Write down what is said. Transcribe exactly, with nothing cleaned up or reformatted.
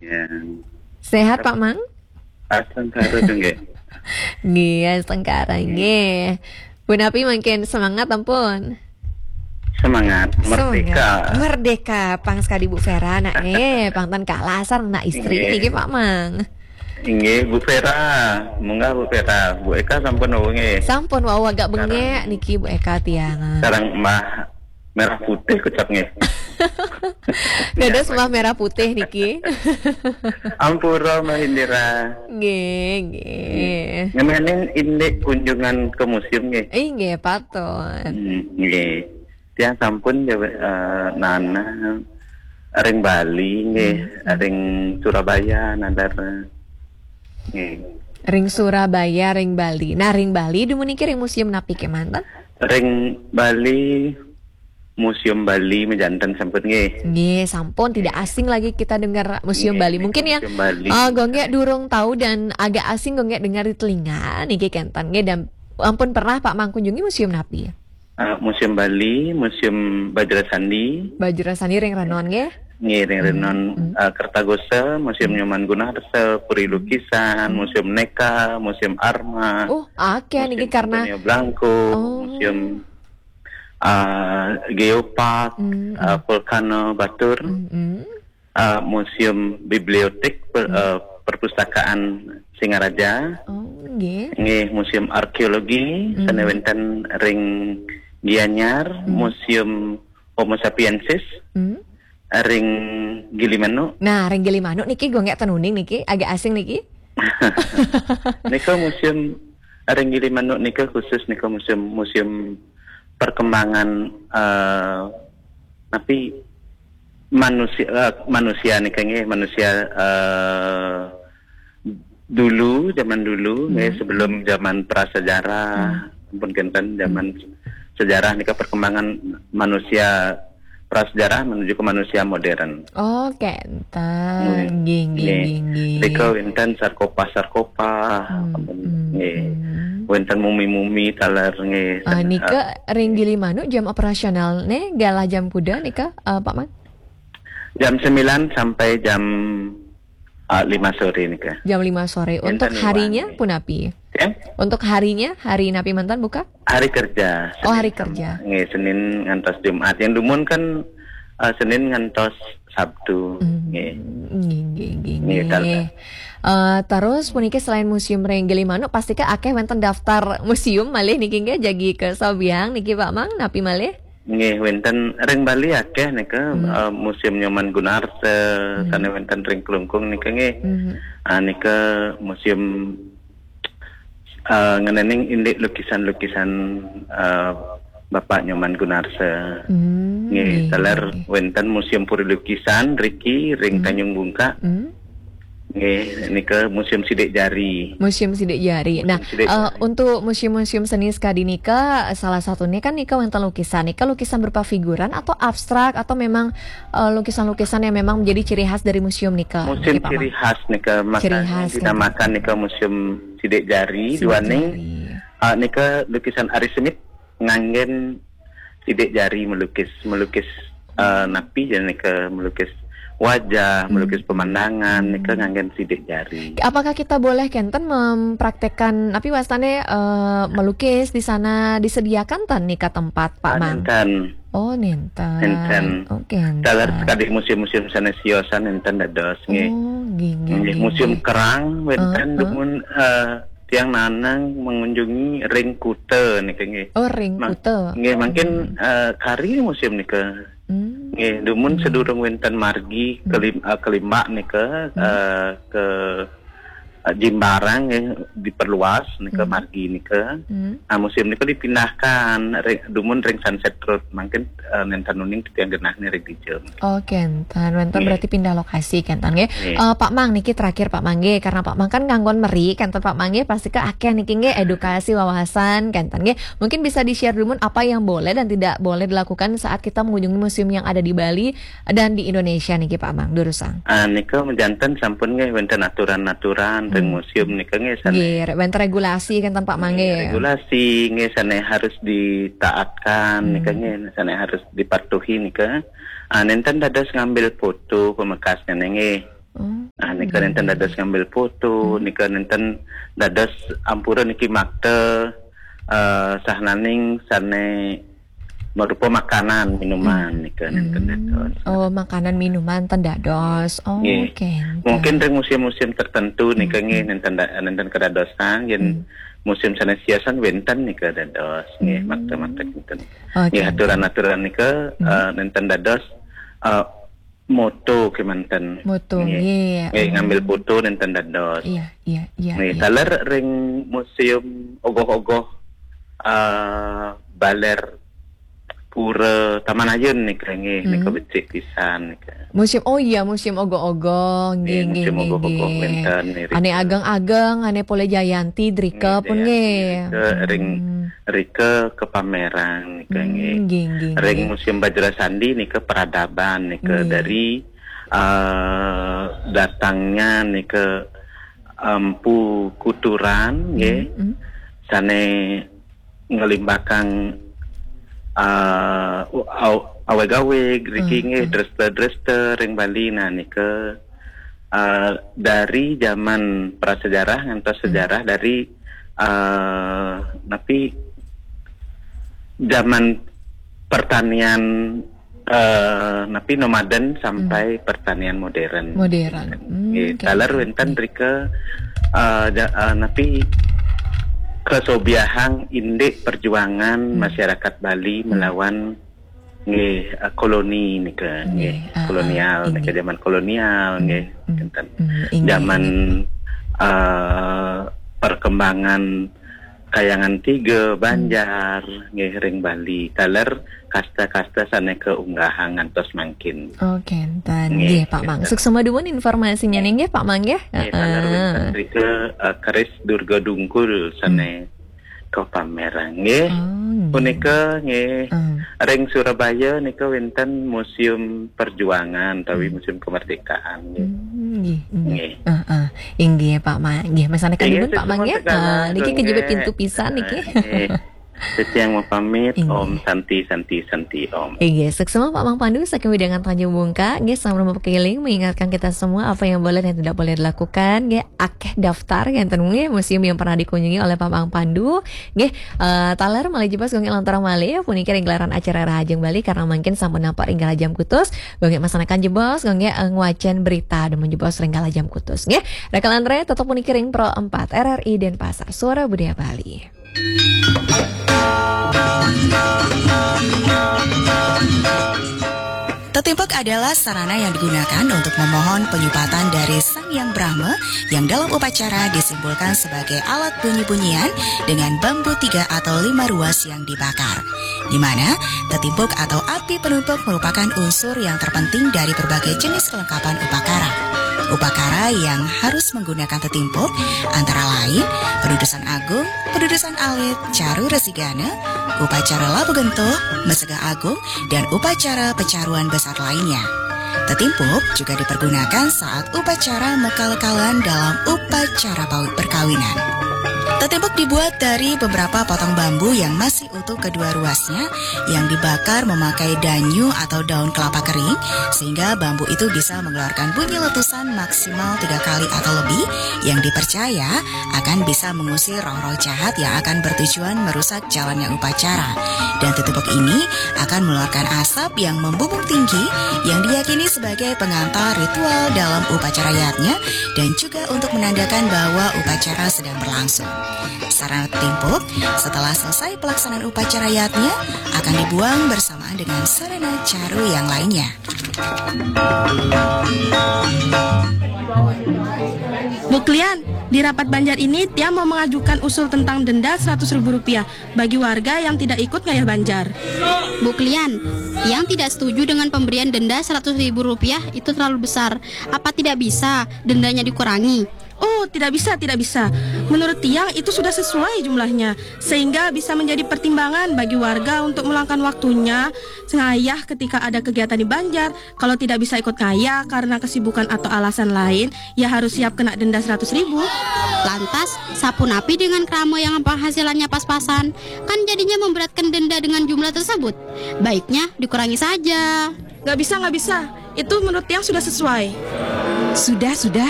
Ya. Sehat, Pak Mang? Astungkara tuh, nggih. Nggih, astungkara, nggih. Punapi mangkin, semangat ampun. Semangat, merdeka. Semangat. Merdeka, pang sekali Bu Vera, nak, eh, pang tan kalah sareng nak istri niki, Pak Mang. Inggih, Bu Vera. Munggah, Bu Vera. Bu Eka sampun wau, nggih. Sampun wau agak bengek niki, Bu Eka tiang. Sareng Mbah Merah Putih kocap, nggih. Dados Mbah Merah Putih niki. Ampura, Mbah Indira. Nggih, nggih. Ngemenin indik kunjungan ke museum, nggih. Inggih, patut. Hmm, nggih. Tiang sampun ya, eh, nana ring Bali, nggih, ring Surabaya, nadar. Nggih. Ring Surabaya, ring Bali. Nah, ring Bali dumun niki ring museum napi kemanten? Ring Bali, Museum Bali mejanten sampun, nggih. Nggih, sampun tidak asing lagi kita dengar Museum Bali. Mungkin yang, eh, gonggek durung tahu dan agak asing gonggek dengar di telinga niki kenten, nggih, dan ampun pernah Pak Mang kunjungi museum napi? Eh, Museum Bali, Museum Bajra Sandi. Bajra Sandi ring Renon, nggih? Nggih, ring Renon, eh, Kertagosa, Museum Nyoman Gunarsa, Puri Lukisan, Museum Neka, Museum Arma, oh, akeh niki Museum karena Antonio Blanco, oh, Museum, eh, Geopark, eh, Vulcano Batur, eh, Museum Bibliotek, per-, eh, Perpustakaan Singaraja. Oh, nggih. Nggih, Museum Arkeologi, sane wenten ring Gianyar, Museum Homo Sapiensis, ring Gilimanuk. Nah, ring Gilimanuk niki gonggek ten uning niki, agak asing niki. Nika museum ring Gilimanuk nika khusus nika museum, museum perkembangan, eh, tapi manusia, eh, manusia nika nggih, manusia, eh, dulu, zaman dulu, nggih, sebelum zaman prasejarah, ampun kenten, zaman sejarah nika perkembangan manusia prasejarah menuju ke manusia modern. Oh, kenten. Nggih, nggih, nggih, nggih. Nika wenten sarkopa-sarkopa, ampun, nggih. Wenten mumi-mumi taler, nggih. Ah, nika ring Gilimanuk jam operasional ne, galah jam kuda nika, eh, Pak Mang? Jam sembilan sampai jam, ah, lima sore nika. Jam lima sore. Untuk harinya punapi? Ya? Untuk harinya, hari napi manten buka? Hari kerja. Oh, hari kerja. Nggih, Senin ngantos Jumat. Yang dumun kan, eh, Senin ngantos Sabtu. Nggih. Nggih, nggih, nggih, nggih. Eh, terus puniki selain museum ring Gilimanuk, pastika akeh wenten daftar museum malih niki nggih, jagi ke Sobiang niki Pak Mang, napi malih? Nggih, wenten ring Bali akeh nika, eh, Museum Nyoman Gunarsa, sane wenten ring Klungkung nika nggih. Ah, nika museum, eh, ngenening indik lukisan-lukisan, eh, Bapak Nyoman Gunarsa. Nggih, nggih, taler wenten Museum Puri Lukisan riki ring Tanjung Bungka. Nggih, nika Museum Sidik Jari. Museum Sidik Jari. Nah, eh, untuk museum-museum seni sekadi nika, salah satunya kan nika wenten lukisan. Nika lukisan berupa figuran atau abstrak atau memang, eh, lukisan-lukisan yang memang menjadi ciri khas dari museum nika? Museum nggih, Pak Mang. Ciri khas nika, ciri khas, makanya dinamakan nika Museum Sidik Jari, sidik duaning jari. Ah, nika lukisan Ari Semit nganggen sidik jari melukis, melukis, eh, napi ya nika, melukis wajah, melukis pemandangan, nika nganggen sidik jari. Apakah kita boleh kenten mempraktekkan, napi wastane, eh, melukis di sana, disediakan ten nika tempat, Pak Mang? Ah, nenten. Oh, nenten. Nenten. Oke, nenten. Taler sekadi museum-museum sane siosan nenten dados, nggih. Oh, nggih, nggih, nggih, nggih. Museum Kerang wenten dumun, eh, tiang nanang mengunjungi ring Kuta nika nggih. Oh, ring Kuta. Nggih, mungkin, eh, kari museum nika. Nggih, dumun sedurung wenten margi kelim-, eh, kelimbak nika, eh, ke, eh, Jimbarang nggih, diperluas nika margi nika. Nah, museum nika dipindahkan ring, dumun ring Sunset Road. Mungkin, eh, nenten uning titiang genah nika ring dija. Oh, kenten. Wenten berarti pindah lokasi, kenten, nggih. Nggih. Eh, Pak Mang, niki terakhir, Pak Mang, nggih. Karena Pak Mang kan nganggon meri, kenten, Pak Mang, nggih. Pasti ke akeh niki, nggih, edukasi wawasan, kenten, nggih. Mungkin bisa di-share dulu apa yang boleh dan tidak boleh dilakukan saat kita mengunjungi museum yang ada di Bali dan di Indonesia niki, Pak Mang, durusang. Ah, nika mejanten sampun, nggih, wenten aturan-aturan ring museum nika, nggih, sane. Nggih, wenten regulasi, kenten, Pak Mang, nggih, nggih. Regulasi, nggih, sane harus ditaatkan nika, nggih, sane harus dipatuhi nika. Ah, nenten dados ngambil foto pamekasnya, nggih. Oh. Nah, nika nenten dados ngambil foto, hmm, nika nenten dados ampura niki makta, eh, sahananing sane marupa makanan, minuman, hmm, nika nenten, hmm, dados. Oh, makanan minuman ten dados. Oh, nggih. Oke. Mungkin ring musim-musim tertentu nika, hmm, nggih, nenten da-, nenten kedadosan, yen, hmm, musim sane siasan wenten nika dados, nggih, hmm, makta-makta kinten. Oke. Nggih, aturan-aturan nika, hmm, eh, nenten dados, eh, moto kemanten. Moto, nggih. Nggih, nggih, ngambil foto nenten dados. Iya, iya, iya, nggih, iya. Taler ring museum ogoh-ogoh, eh, baler pura Taman Ayun nika, nggih, nika, hmm, becik pisan nika. Museum, oh iya, museum ogoh-ogoh, nggih, nggih, nggih, museum ogoh-ogoh nggih. Wenten nika. Ane ageng-ageng, ane polih jayanti drika, nggih, pun jayanti nggih. Rika ring, hmm, rika kapamerang nika, hmm, nggih. Nggih, nggih, ring nggih. Museum Bajra Sandi nika peradaban nika, nggih, dari, eh, datangnya nika Empu Kuturan, nggih. Hmm, hmm. Sane ngelimbakang, eh, aw-, aweg-aweg, riki, hmm, nggih, hmm, dresta-dresta ring Bali. Nah, nika, eh, dari zaman prasejarah ngantos, hmm, sejarah dari, eh, napi zaman pertanian, eh, napi nomaden sampai, hmm, pertanian modern. Modern. Hmm, nggih, oke, taler oke, wenten, oke. Rika, eh, ja-, eh, napi kasobiahang indik perjuangan, hmm, masyarakat Bali, hmm, melawan nggih, eh, koloni nika, nggih, nggih, ah, kolonial ah, nika, inggih. Zaman kolonial, hmm, nggih, hmm, kinten. Hmm, inggih, zaman, inggih. Eh, perkembangan Kayangan Tiga, hmm, Banjar, nggih, ring Bali. Taler kasta-kasta sane kaunggahang ngantos mangkin. Oh, kenten. Nggih, nggih, Pak Mang. Kenten. Suksma dumun informasinya nih, nggih, Pak Mang, nggih. Nggih, taler, heeh, wenten rika, eh, keris Durga Dungkul sane, hmm, kapamerang, nggih. Oh, nggih. Punika, nggih, hmm, ring Surabaya nika wenten Museum Perjuangan utawi, hmm, Museum Kemerdekaan, nggih. Hmm, nggih, nggih. Nggih. Heeh. Inggih, Pak Mang. Nggih, masanekan, inggih, dumun, Pak Mang, suksma nggih. Sekarang, ah, niki kejebit, nggih, pintu pisan niki. Eh, nggih. Titiang mapamit, inggih. Om Santi, Santi, Santi, Om. Inggih, suksma Pak Mang Pandu saking wewidangan Tanjung Bungka. Nggih, sampun mapakeling mengingatkan kita semua apa yang boleh dan tidak boleh dilakukan. Nggih, akeh daftar ngenten, nggih, museum yang pernah dikunjungi oleh Pak Mang Pandu. Nggih, eh, taler malih jebos, nggih, lanturang malih puniki ring gelaran acara Rahajeng Bali karena mangkin sampun nampak ring galah jam kutus. Nggih, masanekan jebos, nggih, eh, ngwacen berita dumun jebos ring galah jam kutus. Nggih, Raka lan Re, tetep puniki ring Pro Empat R R I Denpasar, Suara Budaya Bali. Tetimpuk adalah sarana yang digunakan untuk memohon penyupatan dari Sang Yang Brahma yang dalam upacara disimbolkan sebagai alat bunyi-bunyian dengan bambu tiga atau lima ruas yang dibakar. Di mana tetimpuk atau api penumpuk merupakan unsur yang terpenting dari berbagai jenis kelengkapan upakara. Upakara yang harus menggunakan tetimpuk antara lain pedudusan agung, pedudusan alit, caru resigana, upacara labu gentuh, mesegah agung, dan upacara pecaruan besar lainnya. Tetimpuk juga dipergunakan saat upacara mekal-kalan dalam upacara pawi-, perkawinan. Tetimpuk dibuat dari beberapa potong bambu yang masih utuh kedua ruasnya yang dibakar memakai danyu atau daun kelapa kering, sehingga bambu itu bisa mengeluarkan bunyi letusan maksimal tiga kali atau lebih yang dipercaya akan bisa mengusir roh-roh jahat yang akan bertujuan merusak jalannya upacara. Dan tetimpuk ini akan mengeluarkan asap yang membumbung tinggi yang diyakini sebagai pengantar ritual dalam upacara yatnya dan juga untuk menandakan bahwa upacara sedang berlangsung. Sarana tetimpuk setelah selesai pelaksanaan upacara yatnya akan dibuang bersamaan dengan sarana caru yang lainnya. Bu Klian, di rapat banjar ini tiang mau mengajukan usul tentang denda seratus ribu rupiah bagi warga yang tidak ikut ngayah banjar. Bu Klian, tiang tidak setuju dengan pemberian denda seratus ribu rupiah, itu terlalu besar. Apa tidak bisa dendanya dikurangi? Oh, tidak bisa, tidak bisa. Menurut tiang itu sudah sesuai jumlahnya, sehingga bisa menjadi pertimbangan bagi warga untuk meluangkan waktunya ngayah ketika ada kegiatan di banjar. Kalau tidak bisa ikut ngayah karena kesibukan atau alasan lain, ya harus siap kena denda seratus ribu. Lantas, sapunapi dengan krama yang penghasilannya pas-pasan? Kan jadinya memberatkan denda dengan jumlah tersebut. Baiknya dikurangi saja. Nggak bisa, nggak bisa. Itu menurut tiang sudah sesuai. Sudah, sudah.